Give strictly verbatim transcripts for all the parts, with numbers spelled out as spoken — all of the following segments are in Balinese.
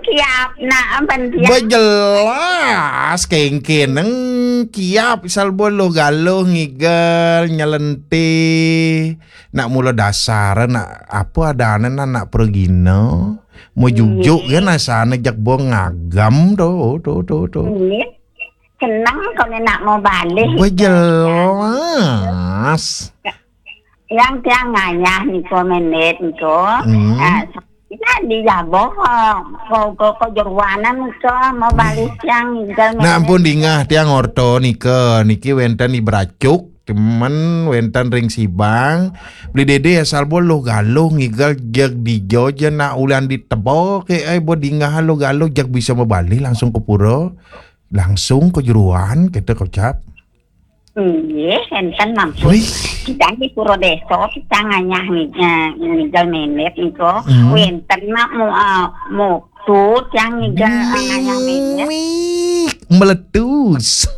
Siap nak, ampun siap. Bejelas kengkeneng kiap salbo lo galo ngigel nyelente. Nak mula dasar nak apa adane nak, nak pergina. Mau jujuk kan asane jak bo ngagam to, to, to, to. Ini seneng kau ni nak mau balik. Bejelas. Yang tiang ngayah niko menit niko. Hmm. Eh, jadi ya boh, ko, ko, ko jeruanan niko mau balik tiang ngigel menit. Nak ampun dingah tiang orto nika, niki wenten di Beracuk, temen wenten ring Sibang. Beli dede asal bo lo galo ngigel jeg di jo je nak ulian di tebo ke ai bo dingah lo galo jeg bisa mau balik langsung ke pura. Langsung ke jeruan kita kocap. Nggih, enten mampun. Wih. Kita di pura desa, kita ngayah ngi-, eh, ngigel menit niko. Hmm. Wenten nak mu-, eh, mutu tiang ngigel, eh, ngayah menit. Mih, meletus.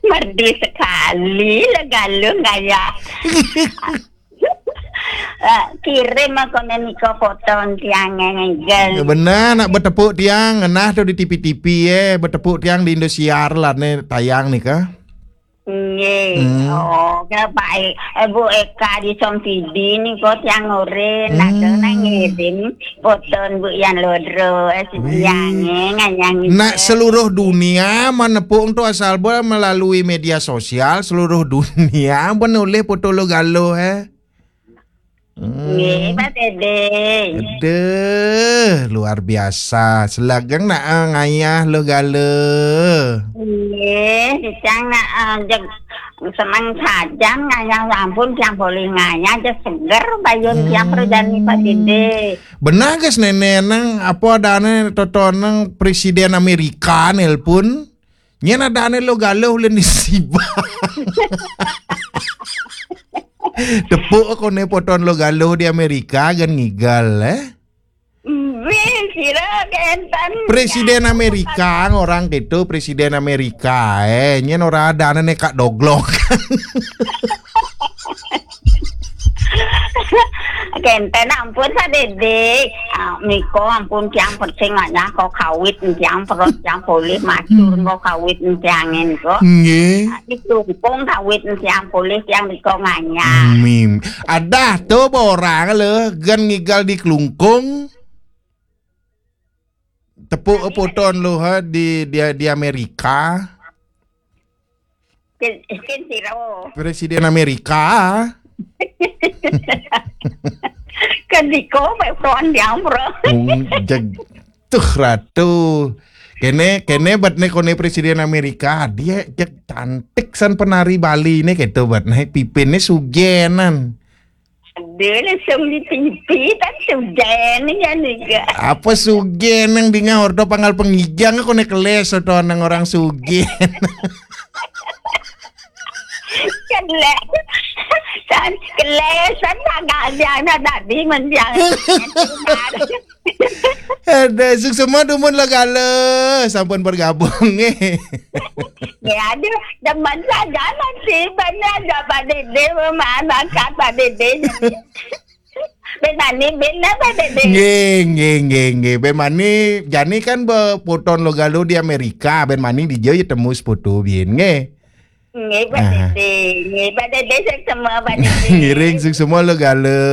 Merdu sekali lah galo ngayah. Eh, kirim aku niko foto tiang ngigel. Ya benar, nak betepuk tiang, ngenah tu di T V T V, eh, betepuk tiang di Indosiar lah ni tayang nika. Nggih. Hmm. Oh, ke baik. Eh, Bu Eka di Somsidi niko tiang urin, nak Hmm. nang ngirim foto Bu Yan Lodro, eh, si Wih. Tiang, eh, ngayah ngirim. Nak seluruh dunia menepuk tu asal bo melalui media sosial, seluruh dunia menoleh foto lo galo, eh. Hmm. Nggih, Pak Dede. Aduh, luar biasa. Selageng nak, eh, ngayah lo galo. Nggih, sicang nak, eh, jeg seneng sajan ngayah ampun tiang boleh ngayah je seger bayun tiang perjani Pak Dede. Benar guys nenek nang apa adane toto nang Presiden Amerika nelpon. Nyen adane lo galo ulen di Sibang. Tepuk kone poton lo galo di Amerika gen ngigel, eh. Wih, sira kenten. Presiden Amerika, orang gitu, Presiden Amerika, eh. Nyen ora adane ne kak doglok. Kenten ampun sadede. Ah, niko ampun tiang persing ngayah ko kawit tiang perut tiang polih macur ko kawit tiangin ko. Nggih. Di Klungkung kawit tiang polih tiang niko ngayah. Mim. Adah tu orang le gen ngigel di Klungkung. Tepuk poton lo ha di, di, di Amerika. Kin, kin siro. Presiden Amerika. Kan diko mek tuan diampro. Wong jeg-, tuh ratu. Kene, kene bet ne kone Presiden Amerika. Dia jeg cantik san penari Bali ne keto bet ne pipinne sugenan. Aduh, langsung di T V kan sugen ya nih. Apa sugen nang dingah ordo panggal pengijang aku nek keles atau nang orang sugen. Keles. San keles san tanggal dia na tadi menjang. Ada suk semua dumun lo galo sampun bergabung eh. Ya ada demen saja nanti banyak ada Pak Dede memakan Pak Dede. Ben mani ben apa Dede? Nggih, nggih, nggih, nggih. Ben mani jani kan be-, poton lo galo di Amerika, ben mani di Jawa ya temu seputu bien nggih. Nggih, Pak Dede. Nggih, Pak Dede sing semua Pak Dede. Ngiring sing semua lo galo.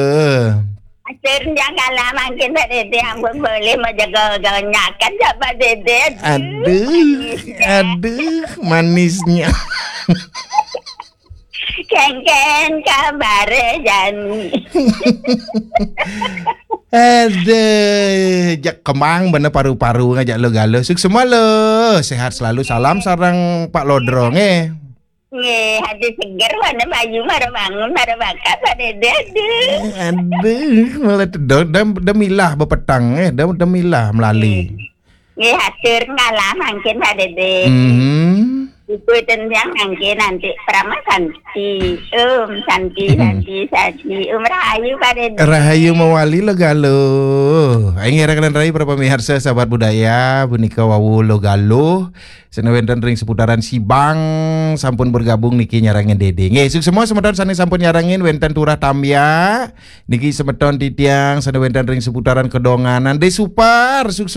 Akhirnya kalah mangkin Pak Dede ampun boleh mau jaga ganyakan ya Pak Dede. Aduh, aduh, manisnya. Kengken kabare jani. Aduh, jak kemang bener paru-paru ngajak lo galo. Sukses lo. Sehat selalu. Salam sareng Pak Lodrong eh. Nggih, hati seger warna bayu mara bangun mara bakat Pak Dede. Aduh. Aduh, malah tedok dem demilah bepetang eh, dem demilah melali. Nggih, hatur ngalah mangkin Pak Dede. Mhm. Ibu tendang mangkin nanti Prama Santi. Om Santi, Santi, Santi. Om Rahayu Pak Dede. Rahayu mawali lo galo. Aing ngerakan rahayu para pemirsa sahabat budaya, punika wau lo galo. Sene wenten ring seputaran Sibang sampun bergabung niki nyarangin Dede. Nggih, sukses semua semeton sane sampun nyarangin wenten Turah Tambya. Niki semeton titiang sene wenten ring seputaran Kedonganan. De Supar, sukses